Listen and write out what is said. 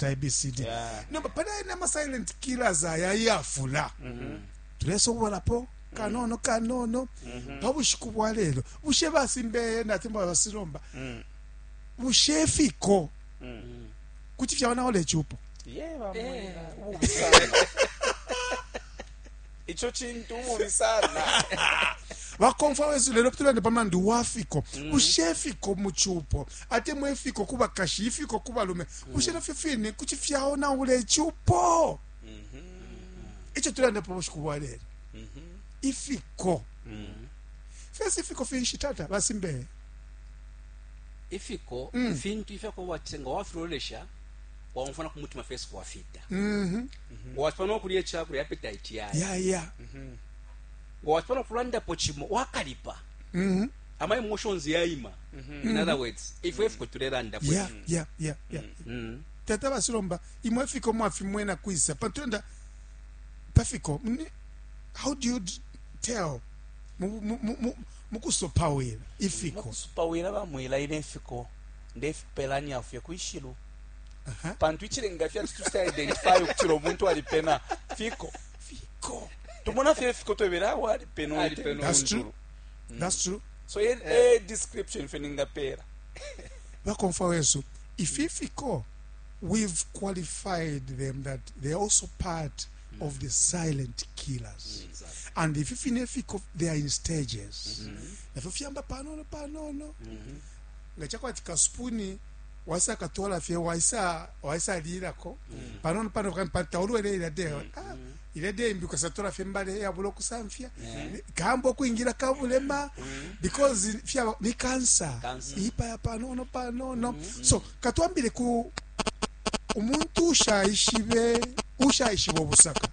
Tulacita ABCD. Nomba pali aya nama silent killers aya yafula. Tulesobolapo kanono kanono pa bushiku bwa lelo. Bushe basimbeye natemwa basilomba. Bushe fiko kuti fyaonaula icupo? Ye bamwela ububi sana. Ico cintu ububi sana. Bakomfwa wesu, lelo tulande pa mulandu wa fiko. Bushe fiko mu cupo, atemwa ifiko ku bakashi, ifiko ku balume, bushe nafyo fine kuti fyaonaula icupo? Ico tulanda pa bushiku bwa lelo, ifiko fesi, ifiko finshi, tata basimbeye? Ifiko fintu ifyakuba ati nga wafilolesha, waumfwa na ku mutima fesi kwafita, wacipa no kulya icakulya, appetite yaya. Wacipa no kulandapo cimo, wakalipa, ama emotions yaima. In other words, ifwe ifiko tulelandapo. Tata basilomba, imwe ifiko mwafimwena kwisa? Pantu tulanda pafiko, how do you tell mukusopawila ifiko? Mukusupawila, bamwila, ine ifiko ndefipelanya fye kwishilu. Pantu icilenga fye ati tucita identify ukutila umuntu alipena fiko. Fiko. Tumona fye ifiko, twebela awo alipena. Alipena. That's true. That's true. So e description fye ningapela. Bakomfwa wesu, ifi fiko, we've qualified them that they're also part of the silent killers. And ifi fine fiko, they are in stages. Nafyo fyamba panono panono, nga chakwati kasupuni waisa katwala fye, waisa waisalilako panono panono, taulwele ilya de, ah, ilya de imbi, ukasatola fye mbale yabula okusamfya, kambo okwingira kabulema, because fyaba ni cancer. Cancer. Ipaya panono panono. So katwambile ku umuntu ushaishibe, ushaishiba obusaka.